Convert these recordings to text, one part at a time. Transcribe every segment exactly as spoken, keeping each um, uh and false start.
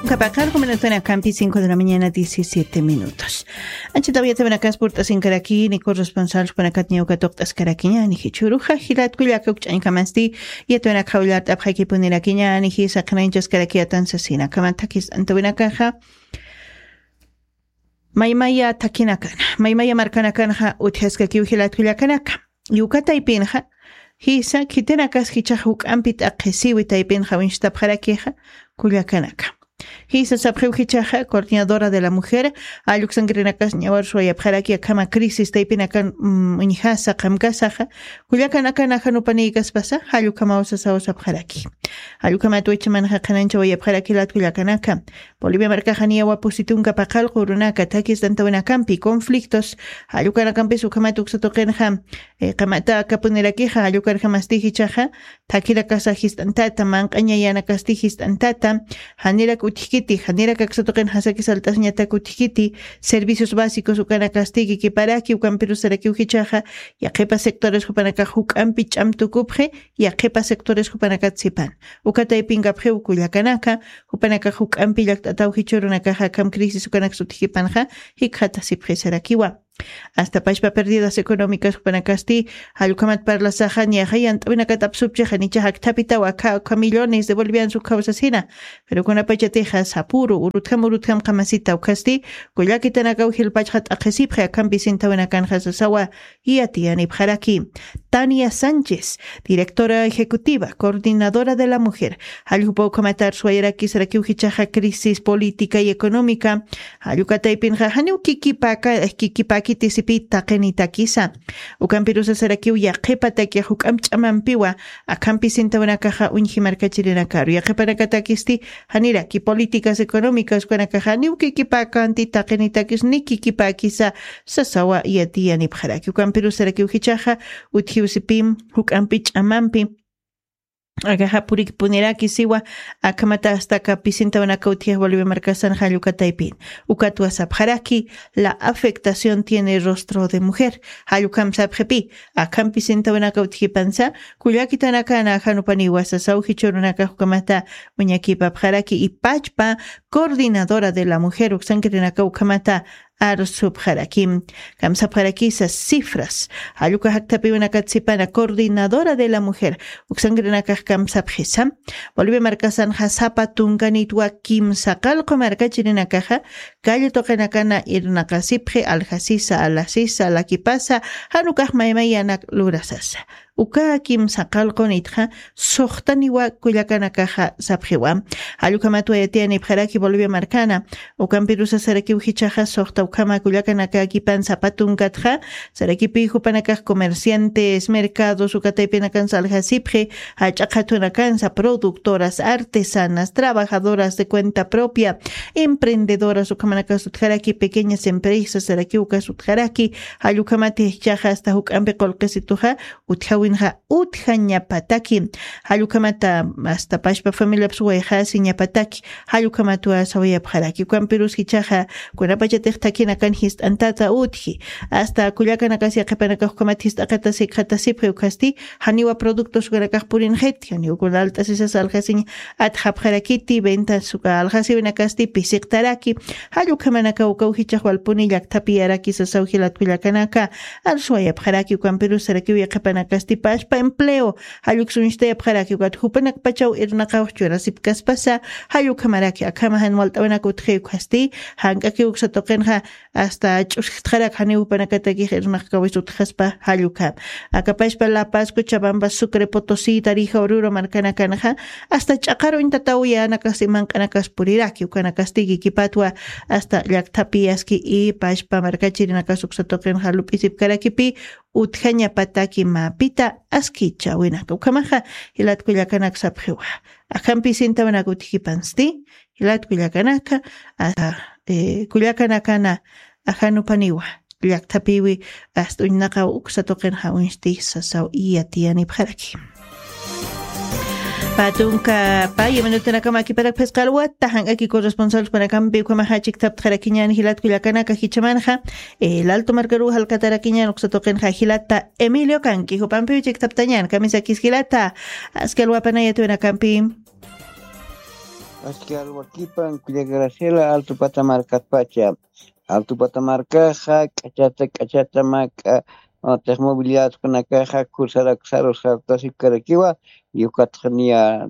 Kapaqar, jumanatuna kampi cinco de la mañana, diecisiete minutos. Anchitaw yatawinakas purt'asinkarakini, corresponsal jupanakat ñawka tuqt'askarakiñani, jichhuruxa jilat kullaka ukch'añkamasti, yatawinaka jawllart'apxakipunirakiñani, jisa qhanañchaskaraki atan sasina. Kamantakis antawinakaxa, maymaya takinakana, maymaya markanakanxa utjaskakiw jilat kullakanaka. Yuka taypinxa, jisa khitinakas jichax juk'ampi t'aqhisiwi taypinxa winchtapxarakixa, kullakanaka. Jisa sapxiw jichaxa, coordinadora de la mujer, jalluksankrinakas ñawar suwayapxaraki akhama crisis taypinakan, mm, uñjasa, qamkasaxa, kullakanakana janupanïkaspasa, jallukhamaw sasaw sapxaraki. Jallukhamat wichhamanxa qhanañchawayapxaraki jilat kullakanaka. Bolivia markaxa niyawa pusi tunka paqallqu urunaka, takis antawinakampi, conflictos, jallukhanakampis ukhamat uksa tuqinxa, eh, qamata akapunirakixa, jallukarjamasti jichaxa, thakinakasa jist'antata, manq'añayanakasti jist'antata, janirak utjkiti, janirak aksa tuqin jasaki salt'asiñatak utjkiti, servicios básicos ukanakasti kikiparaki, ukampirus sarakiw jichaxa, yaqhipa sectores jupanakax juk'ampi ch'am tukupxi, yaqhipa sectores jupanakat sipan. Uka taypinkapxiw kullakanaka, jupanakax juk'ampi llakt'ataw jichhürunakaxa akham crisis ukanaks utjkipanxa, jikxatasipxi sarakiwa. Hasta pachpa pérdidas económicas jupanakasti, jallukhamat parlasaxa, niyaxa yant'awinakat apsupchixa, nichax akthapitaw akha, akha millones de bolivianos ukhaw sasina. Pero kunapachatixa sapüru, urutjam, urutjam qamasita ukhasti, kullakitanakaw jilpachxa t'aqhisipxi, akhampi sintawinakanxa sasawa, yatiyanipxaraki. Tania Sánchez, directora ejecutiva, coordinadora de la mujer, jalljupa ukhamat arsuwayaraki sarakiw jichaxa crisis política y económica, jallukataypinxa janiw kikipaka, kikipakiti sipi taqinitakisa. Ukampirusa sarakiw yaqhipataki juk'amp ch'amampiwa, akhampi sintawinakaxa uñji markachirinakaru. Yaqhipanakatakisti, janiraki políticas económicas ukanakaxa janiw kikipakanti taqinitakis ni kikipakisa, sasawa yatiyanipxaraki. Ukampirus sarakiw jichaxa, utjiw sipim, juk'ampi ch'amampi. Akaxa purikpuniraki siwa, akhamata hasta aka pisintawinaka utjix Bolivia markasan jallukataypin. Ukatwa sapxaraki, la afectación tiene rostro de mujer. Jallukham sapxipi, akham pisintawinaka utjipansa, kullakitanakana janupaniwa sasaw jichhürunaka ukhamata uñakipapxaraki, y pachpa coordinadora de la mujer uksankirinaka ukhamata arsupxarakim. Kamsapxarakisa cifras. Jalluka jaktapiwinakat sipana coordinadora de la mujer. Uksankirinakax kamsapxisa. Bolivia markasanxa sapa tunkanitwa kimsa qallqu markachirinakaxa, calle tuqinakana irnaqasipxi, aljasisa, alasisa, lakipasa, janukax maymayanak lurasasa. Uka kimsa qallqunitxa, suxtaniwa kullakanakaxa sapxiwa. Jallukhamatwa yatiyanipxaraki Bolivia markana. Ukampirusa sarakiw jichaxa suxta ukhama kullakanakakipan sapa tunkatxa, sarakipi jupanakax comerciantes, mercados, ukataypinakan saljasipxi, jach'a qhatunakansa, productoras, artesanas, trabajadoras de cuenta propia, emprendedoras, ukhamanakas utjaraki, pequeñas empresas, sarakiw ukas utjaraki, jallukhamati jichaxa hasta juk'ampi qullqisituxa, utjawinxa utjañapataki. Jallukhamata hasta pachpa familiapas wayxasiñapataki. Jallukhamatwa sawayapxaraki. Ukampirus jichaxa kunapachatix thakinakan jist'antata utji. Hasta kullakanakas yaqhipanakax ukhamat jist'aqatas jikxatasipxi ukhasti, janiwa productos ukanakax purinxiti, janiw kuna alt'asisas aljasiñ atxapxarakiti, ventas uka aljasiwinakasti pisiqtaraki. Jallukhamanakaw ukaw jichax walpuni llakthapi araki sasaw jilat kullakanaka. Arsuwayapxaraki ukampirus sarakiw yaqhipanakasti pachpa empleo. Jalluk suñchtayapxaraki ukat jupanakpachaw irnaqaw churasipkaspasa, jallukhamaraki akhama jan walt'awinak utji ukhasti, jank'aki uksa tuqinxa hasta ch'uskxtxarak janiw jupanakatakix irnaqkawis utjaspa jallukha. Aka pachpa La Paz, Cochabamba, Sucre, Potosí, Tarija, Oruro markanakanxa, hasta ch'aqar uñtataw yänakasti manq'anakas puriraki, ukanakasti kikipatwa hasta llakthapi aski y pachpa markachirinakas uksa tuqinxa lup'isipkarakipi, utjañapataki mapita askichawinaka. Ukhamaxa, jilat kullakanak sapxiwa. Akham pisintawinaka utjipansti, jilat kullakanaka, a, eh, kullakanakana ajanupaniwa. Llakthapiwi, hasta uñnaqaw uksa tuqinxa uñsti sasaw yatiyanipxaraki. Pä tunka pä, ya minutanakama akiparak phisqa alwata, jank'aki corresponsal jupanakampi ukhamaxa chikthaptxarakiñäni jilat kullakanaka jichhamanxa, eh, el Alto markaruw jalkatarakiñäni uksa tuqinxa jilata Emilio Canqui, jupampiw chikthaptañäni, kamisakis jilata, aski alwapanaya yatawinakampi. Aski alwakipan kulla Graciela, Alto Pata markatpacha. Alto Pata markaxa k'achata k'achata mä k'a, otix movilidadkunakaxa kursaraksarus sartasipkarakiwa, y ukatxa niya,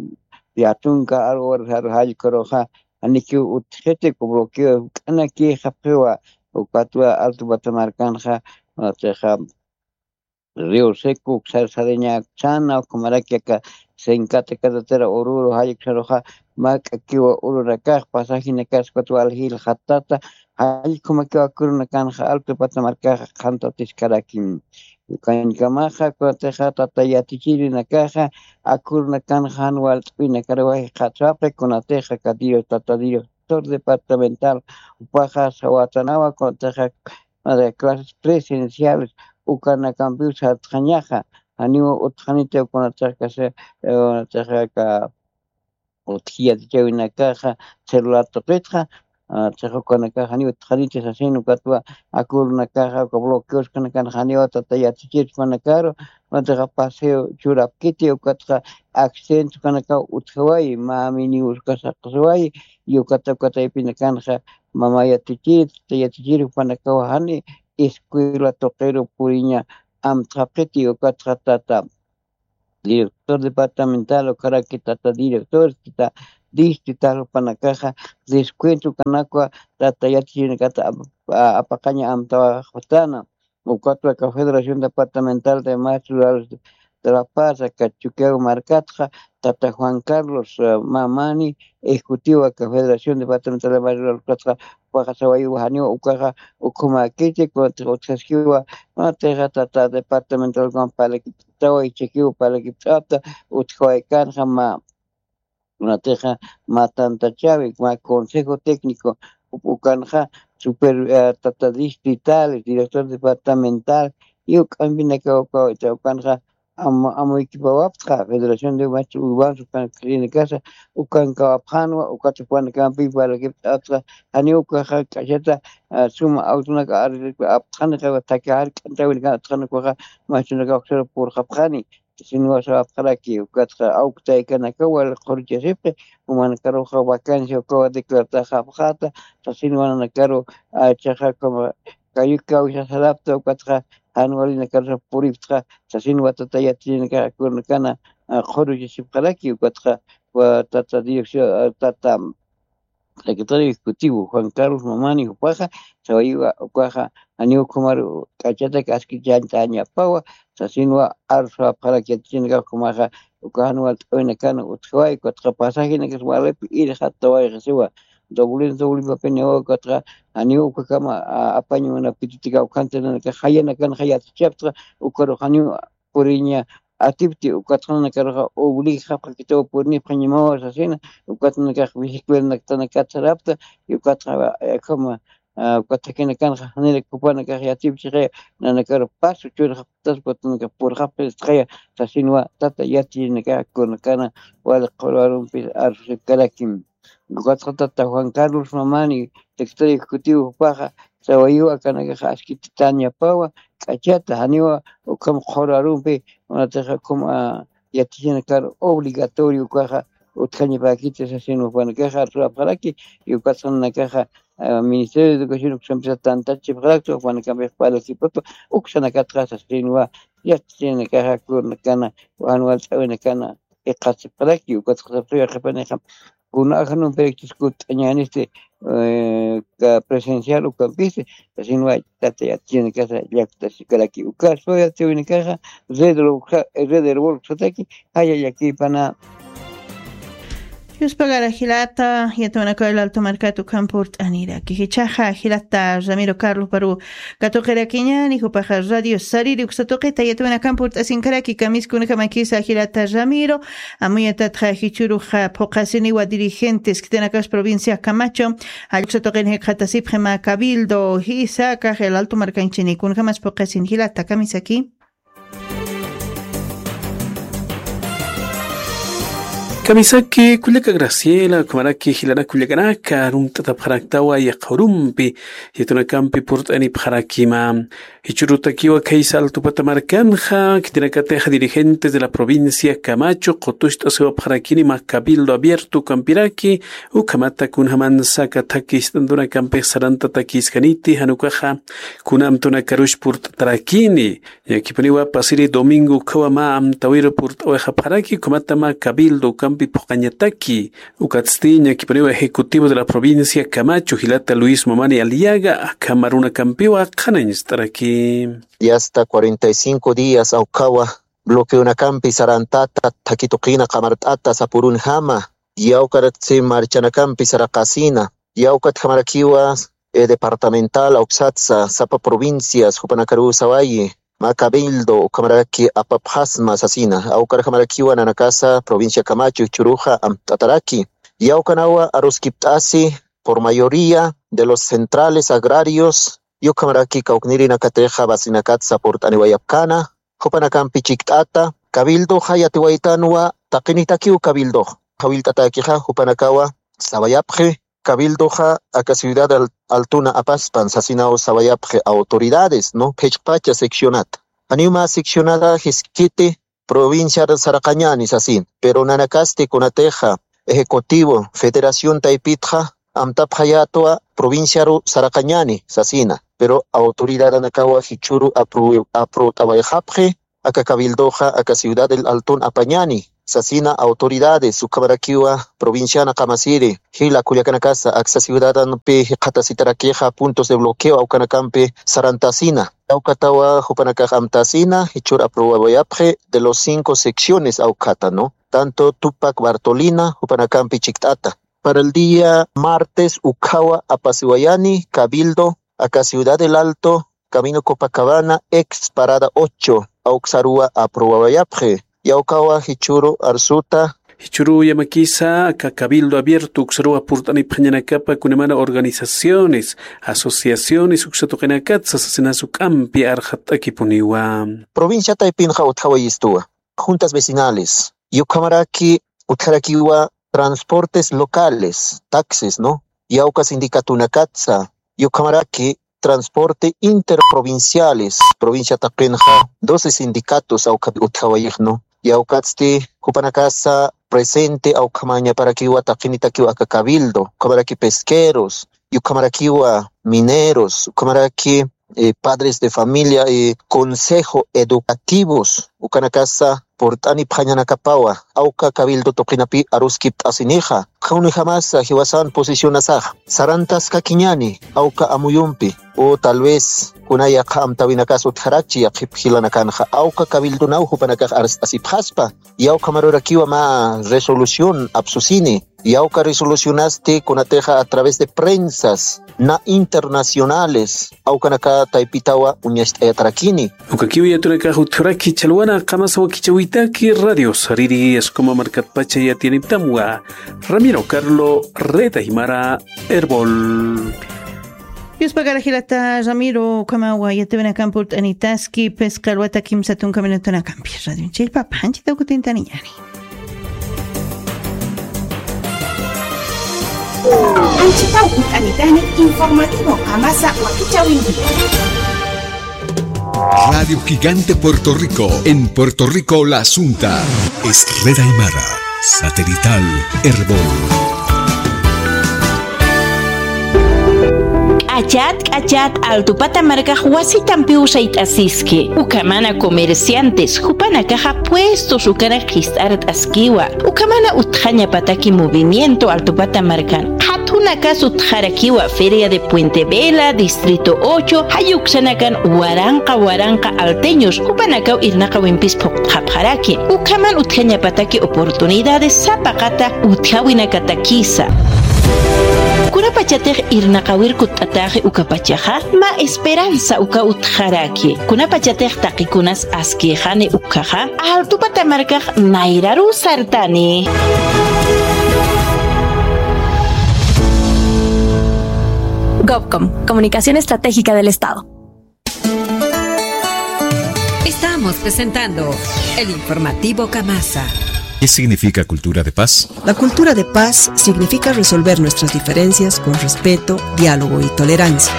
niya tunka aru horas aru jallkuruxa janikiw utjiti, ku bloqueo juk'anakïxapxiwa, ukatwa Alto Pata markanxa, otixa Río Seco, Xarsariña, Xana, ukhamaraki aka Sencata carretera Oruro, jallksaruxa, mä k'akiwa urunakax, pasajinakas, ukatwa aljil jatata, jallkhumakiwa kurunakanxa, Alto Pata markaxa qhantatiskaraki. Ukañkamaxa, kunatixa tata yatichirinakaxa, akurunakanxa jan walt'uwinakaruwa jikxatasipxi, kunatixa aka dir-, tata director departamental, jupaxa sawatanawa, kunatixa de clases presenciales, ukanakampiw sartxañaxa, janiw utxaniti ukanatax kasa, eh, ukanatax aka utji yatichäwinakaxa celular tuqitxa, ah, chiqa ukanakax janiw utxaniti sasin, ukatwa akurunakaxa uka bloqueos kanakan janiw tata yatichir ukanakaru, ukataxa paseo churapkiti, ukataxa accidente ukanakaw utjawayi, mä mini buscas jaqisiwayi, y ukata, ukataypinakanxa mama yatichir, tata yatichir ukanakaw jani escuela tuqiru puriña amtxapxiti, ukatxa tata director departamental, ukaraki tata director, tata distrital jupanakaxa descuento ukanakwa tata yatichirinakata ap-, a-, apaqaña amtawaxpatana. Ukatwa aka Federación Departamental de Maestros Rurales de La Paz, aka Chukiyawu markatxa, tata Juan Carlos, eh, Mamani, ejecutivo aka Federación Departamental de Maestros Rurales, ukatxa, ukaxa sawayiwa janiw ukaxa ukhumäkiti, kunatixa utjaskiwa, kunatixa tata departamental ukan parlakipt'awa, ichakiw parlakipt'apta, utjawaykanxa mä, kunatixa mä tantachäwi, mä consejo técnico, ukanxa super, eh, tata distritales, director departamental, y uk'ampinakaw uka, ukanxa am-, amuykipäwapxta, Federación de Maestros Urbanos, ukan, clínicasa, ukankawapxänwa, ukat jupanakampi parlakipt'apxta, janiw ukaxa k'achata, ah, suma autonak arreglapxanixa, thaki jark'antäwinaka utjani ukaxa, maestronakax uksar purxapxani, sasinwa sawapxaraki, ukatxa awktaykanakaw wali qhuruchasipxi, jumanakaruxa vacancia ukawa declartaxapxäta, sasinwa nanakaru, ah, chiqa, como, kayukaw sarapta, ukatxa jan walinakarusa puripxta, sasinwa tata yatichirinakax akurunakana, ah, qhuruchasipxaraki, ukatxa, wa tata dirección, ah, tata secretario ejecutivo Juan Carlos Mamani jupaxa, sawayiwa ukaxa, janiw ukhamaru k'achatak aski chantañapawa, sasinwa arsapxaraki yatichirinakax ukhamaxa, uka jan walt'awinakana utjawayi, ukatxa pasajinakas walipi irxatawayxasiwa, doble, doble papiniwa, ukatxa, janiw ukakama, a-, apañ munapkititix, ukanti nanakax jayanakanxa yatichapxta, ukaru janiw puriña atipti, ukatxa nanakaruxa obligxapxakitaw purinipxañamawa sasina, ukat nanakax bicicletanaktanakata sarapta, y ukatxa, eh, como, ah, ukat thakinakanxa janirakiw jupanakax yatipchixa, nanakaru paso churxapxtas, ukat nanakax purxapxistxaya, sasinwa tata yatichirinakax akurunakana wali qhuru arumpis arsusipkarakim. Ukatxa tata Juan Carlos Mamani, secretario ejecutivo jupaxa, sawayiwa akanakaxa askititañapawa, k'achata, janiwa ukham qhuru arumpi, kunatixa ukham, ah, yatichirinakar obligatorio ukaxa utjañapäkiti sasin jupanakaxa arsuwapxaraki, y ukatxa nanakaxa, ah, Ministerio de Educación uksampisa tantachipxarakta, jupanakampix parlakipxarakta, uksanakatxa sasinwa yatichirinakaxa akurunakana, jan walt'awinakana, iqasipxaraki, ukatxa sapxiwa qhipanixa, kuna ajanumpirakchis kutt'añänisti, eh, ka presencial ukampisti, sasinwa tata yatichirinakasa llaktasikaraki, uka suyatiwinakaxa, red Herbol, red Herbol uksataki, jaya llakipana. Yuspagara jilata, yatawinakaw El Alto markat ukham purt'aniraki. Jichhaxa jilata Ramiro Carlos paru katuqirakiñäni, jupaxa Radio Sariri uksa tuqita yatawinakamp purt'asinkaraki, kamiskunakamakisa jilata Ramiro, amuyatatxa jichhüruxa phuqhasiniwa dirigentes khitinakas provincia Camacho, jall uksa tuqin jikxatasipxi mä cabildo, jisa, akax El Alto markanchini, kunakamas phuqhasin jilata, kamisaki. Kamisaki kullaka Graciela, ukhamaraki jilanak kullakanaka, arumt'atapxaraktawa yaqha urumpi, yatawinakampi purt'anipxarakima. Jichhürutakiwa khaysa Altupata markanxa, khitinakatixa dirigentes de la provincia Camacho qutucht'asiwapxarakini mä cabildo abierto ukampiraki, ukhamata kunjamansa aka thakhi ist'antunakampix sarantatakïskaniti, jan ukaxa kuna amtunakaruch purt'atarakini. Ñakipuniwa pasiri domingo ukkhawa mä amtäwiru purt'awayxapxaraki, ukhamata mä cabildo ukampi phuqañataki. Ukatsti ñakipuniwa ejecutivo de la provincia Camacho jilata Luis Mamani Aliaga akham arunakampiwa qhanañcht'araki. Ya está cuarenta y cinco días awkhawa bloqueonakampi sarantata, thakhi tuqina qamart'ata sapürunjama, yawkarakchi marchanakampi saraqasina, yawkatjamarakiwa, eh, departamental awksatsa sapa provincias jupanakaruw sawayi, mä cabildo ukhamaraki apapxasma sasina, awkarjamarakiwa nanakasa provincia Camacho jichhüruxa amt'ataraki. Yawkanawa aruskipt'asi por mayoría de los centrales agrarios, ukhamaraki kawknirinakatixa basinakatsa purt'aniwayapkana, jupanakampi chikt'ata, cabildoxa yatiwaytanwa taqinitakiw cabildox. Qhawillt'atakixa jupanakawa sawayapxi, cabildoxa aka ciudad al-, altuna apaspan sasinaw sawayapxi autoridades, ¿no? Phichqpacha seccionat. Janiw mä seccionada jiskiti provinciar saraqañani sasin, pero nanakasti kunatixa ejecutivo federación taypitxa amtapxayätwa provinciaru saraqañani sasina, pero autoridadanakawa jichhüru apru-, apruwt'awayxapxi, aka cabildoxa aka ciudad del Altun apañani sasina autoridades, ukhamarakiwa provinciana qamasiri jila kullakanakasa aksa ciudadanpi jikxatasitarakixa puntos de bloqueo awkanakampi sarantasina. Awkatawa jupanakax amtasina jichhür apruwawayapxi de los cinco secciones awkhata, ¿no? Tanto Tupac Bartolina jupanakampi chikt'ata. Para el día martes ukkhawa apasiwayani cabildo aka Ciudad del Alto, Camino Copacabana, ex parada ocho, awksaruwa aprobawayapxi. Yawkawa jichhüru arsuta. Jichhüru yamakisa aka cabildo abierto uksaruwa purt'anipxañanakapa kunamana organizaciones, asociaciones, uksa tuqinakatsa sasinas juk'ampi arxat'akipuniwa. Provincia taypinxa utjawayistuwa. Juntas vecinales, ukhamaraki utjarakiwa transportes locales, taxis, ¿no? Yawka sindicatunakatsa, ukhamaraki transporte interprovinciales, provincia taqinxa doce sindicatos awkhapi utjawayix, ¿no? Yawkatsti jupanakasa presente awkhamañaparakiwa taqinitakiwa aka cabildo, ukhamaraki pesqueros, ukhamarakiwa mineros, ukhamaraki eh, padres de familia, eh, consejo educativos, ukanakasa purt'anipxañanakapawa, awka cabildo tuqinapi aruskipt'asinixa, kunjamasa jiwasan posicionasax, sarantaskakiñani, awka amuyumpi, o tal vez, kuna yaqha amtawinakas utjarakchi yaqhip jilanakanxa, awka cabildonaw jupanakax arst'asipxaspa, yawkhamarurakiwa mä resolución apsusini, yawka resolucionasti kunatixa a través de prensas na internacionales, awkanaka taypitawa uñacht'ayatarakini. Ukakiw yatunakax utjaraki chhalwana qamasa wakichäwitaki radio sariri, Escoma markatpacha yatiyaniptamwa, Ramiro Carlo, Red Aymara, Erbol. Yuspagara jilata Ramiro, ukhamawa yatiwinakampi purt'anitaski, phisqa alwata kimsa tunka minutunakampi. Radio Chillpapa, anchita kutintaniñani. Anchita kutintani informativo qamasa wakichäwinti. Radio Gigante Puerto Rico, en Puerto Rico la asunta es Red Aymara, satelital Erbol. K'achat, k'achat, Altupata markax wasitampiw sayt'asiski. Ukhamana comerciantes, jupanakaxa puestos ukanak qhist'art'askiwa. Ukhamana utjañapataki movimiento Altupata markan. Qhatunakas utjarakiwa Feria de Puente Vela, Distrito ocho, jay uksanakan waranqa waranqa alteños, jupanakaw irnaqawimpis phuqt'xapxaraki. Ukhaman utjañapataki oportunidades sapaqata utjawinakatakisa. Kunapachatix irnaqawir kutt'atäxi ukapachaxa, mä esperanza uka utjaraki. Kunapachatix taqikunas askïxani ukhaxa, Altupata markax nayraruw sartani. Gobcom, Comunicación Estratégica del Estado. Estamos presentando el informativo Kamasa. ¿Qué significa cultura de paz? La cultura de paz significa resolver nuestras diferencias con respeto, diálogo y tolerancia.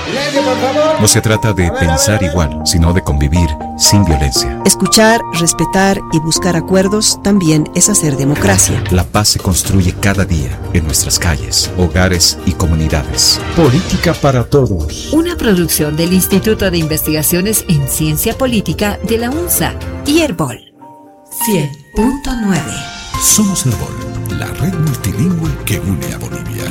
No se trata de pensar igual, sino de convivir sin violencia. Escuchar, respetar y buscar acuerdos también es hacer democracia. La paz se construye cada día, en nuestras calles, hogares y comunidades. Política para todos. Una producción del Instituto de Investigaciones en Ciencia Política de la UNSA y Erbol. Cien punto nueve. Somos Erbol, la red multilingüe que une a Bolivia.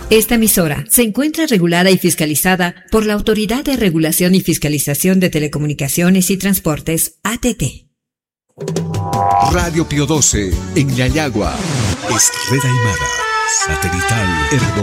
Esta emisora se encuentra regulada y fiscalizada por la Autoridad de Regulación y Fiscalización de Telecomunicaciones y Transportes, A T T. Radio Pío doce, en Yayagua. Es red aymara, satelital, Erbol.